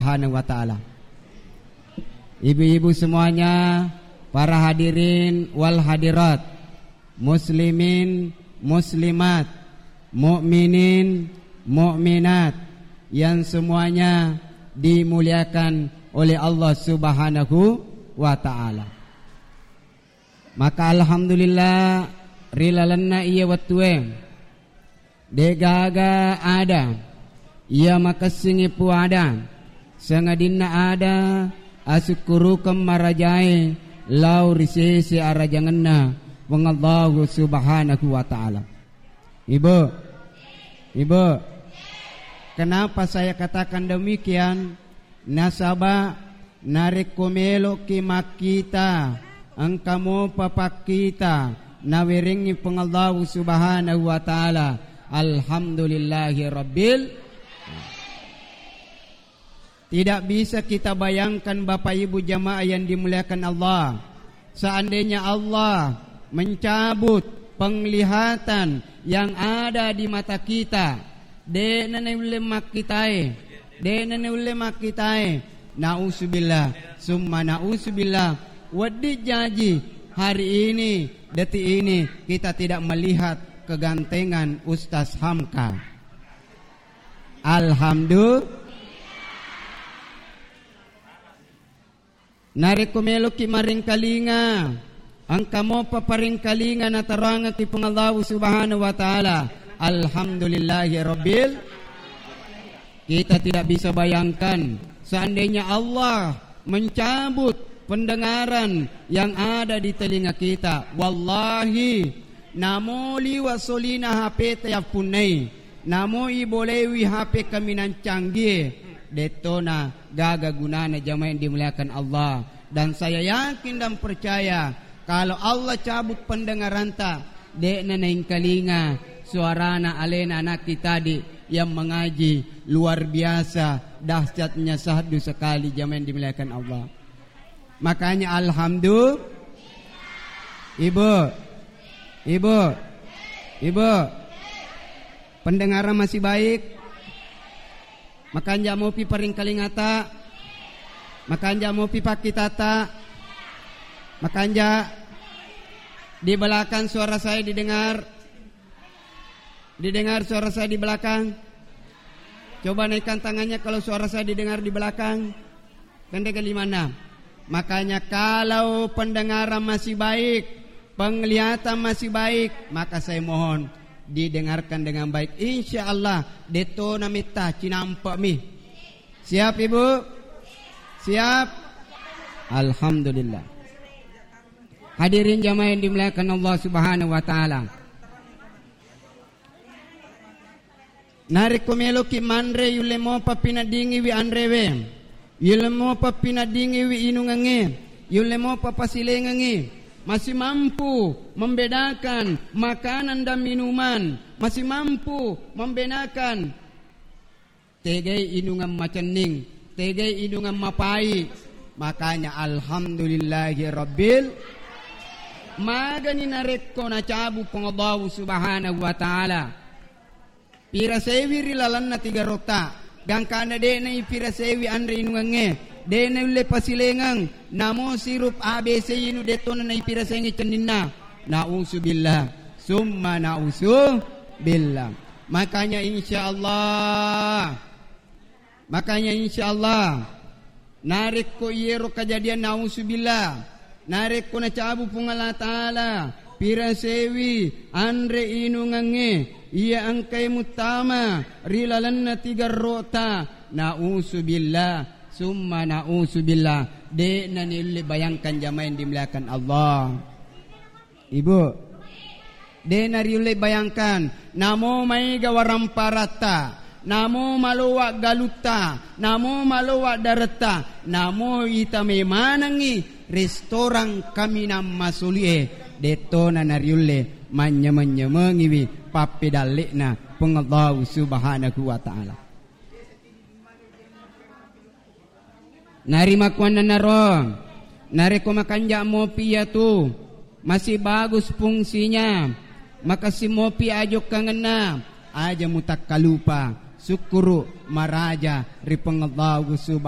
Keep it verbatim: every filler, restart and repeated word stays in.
Subhanahu wa Ta'ala. Ibu-ibu semuanya, para hadirin wal hadirat, muslimin, muslimat, mukminin, mukminat yang semuanya dimuliakan oleh Allah Subhanahu wa Ta'ala. Maka alhamdulillah, ri lalenna iya wettue, de'gaga ada iya makessingngi puada, sangadinna ada asukkurukeng marajae lao ri sese arajangenna Puang Allahu Subhanahu wa Ta'ala. Ibu, Ibu, kenapa saya katakan demikian? Nasaba narekko melo'ki makkita, engka mopa pakkita nawerengngi Puang Allahu Subhanahu wa Ta'ala. Alhamdulillahi Rabbil. Tidak bisa kita bayangkan, Bapak Ibu jamaah yang dimuliakan Allah, seandainya Allah mencabut penglihatan yang ada di mata kita, de'na naulle makkitae, de'na naulle makkitae. Nauzubillah, summa nauzubillah. Wedding jaji hari ini, detik ini kita tidak melihat kegantengan Ustaz Hamka. Alhamdulillah. Narekko meloki maringkalinga, engka mopa paringkalinga natarangaki Puang Allahu Subhanahu wa Ta'ala. Alhamdulillahi Rabbil. Kita tidak bisa bayangkan, seandainya Allah mencabut pendengaran yang ada di telinga kita. Wallahi, namo liwa solina H P ta yappunnai, namo ibolewi H P kaminang canggie, dettona gaga gunana jamaah yang dimuliakan Allah. Dan saya yakin dan percaya, kalau Allah cabut pendengaranta, de'na naingkalinga suarana alena anakki tadi yang mengaji luar biasa dahsyatnya syahdu sekali jamaah yang dimuliakan Allah. Makanya alhamdulillah. Ibu. Ibu. Ibu. Pendengaran masih baik? Makanja mopi paringkalingata? Makanja mopi pakkitata? Makanja di belakang suara saya didengar? Didengar suara saya di belakang? Coba naikkan tangannya kalau suara saya didengar di belakang. Kan de'ga limanna. Makanya kalau pendengaran masih baik, penglihatan masih baik, maka saya mohon didengarkan dengan baik. Insya Allah, dettona metta cinampe'mi. Siap Ibu? Siap? Alhamdulillah. Hadirin jamaah yang dimuliakan Allah Subhanahu wa Ta'ala. Narekko meloki manre, yulle mopa pinaddingiwi anrewe, yulle mopa pinaddingiwi inungengnge, yulle mopa pasilengengngi. Masih mampu membedakan makanan dan minuman, masih mampu membedakan tegai inungan macenning, tegai inungan mapai. Makanya alhamdulillahi rabbil. Magani narekko nacabu Puang Allahu Subhanahu wa Ta'ala. Pirasewi ri lalenna tiga rota, gangkana de'na ipirasewi anre inungengnge, de'na ulle pasilengeng, namo sirup A B C inu dettona naipirasengi cenninna. Nauzubillah, summa nauzubillah. Makanya insya Allah, makanya insya Allah, narekko iyero kajadian, nauzubillah, narekko nacabu Puang Allah Ta'ala pirasewi anre inungengnge iya engkai muttama ri lalenna tiga rota, nauzubillah, summa nauzubillah, de'na niulle bayangkan jamaah yang dimuliakan Allah. Ibu, de'na riulle bayangkan, namo maega waramparatta, namo malowa galutta, namo malowa daretta, namo itame manengngi restorang kaminang masulie, dettona nariulle manynyameng-nyamengiwi pappedalle'na Puang Allahu Subhanahu wa Ta'ala. Narimakkuannanaro, narekko makanja mopi iyatu, masih bagus fungsinya, makessing mopi ajokkangenna, aja mutakkalupa sukkuru maraja ri Puang Allahu Subhanahu